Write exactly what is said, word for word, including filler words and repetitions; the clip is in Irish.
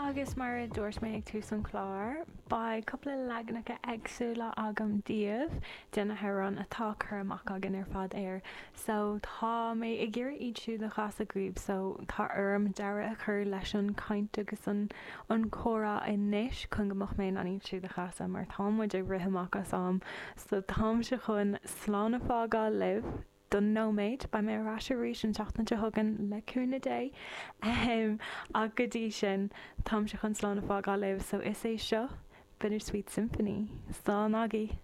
Agus mar a dúirt mé ag tús an chláir, beidh cúpla leaganacha éagsúla agam daoibh de na hamhráin atá cur amach againn ar fad air. So tá mé ag iarraidh iad siúd a chasadh daoibh, so tá orm deireadh a chur leis an chaint agus an an comhrá anois chun go mbeadh mé in ann iad siúd a chasadh mar tá muid ag rith amach as am. So táimse chun slán a fhágáil libh don nóiméad, beidh mé ar ais arís an tseachtain seo chugainn le cúnamh Dé. Um, ach go dtí sin táimse chun slán a fhágáil libh, so is é seo Bittersweet Symphony. Slán agaibh.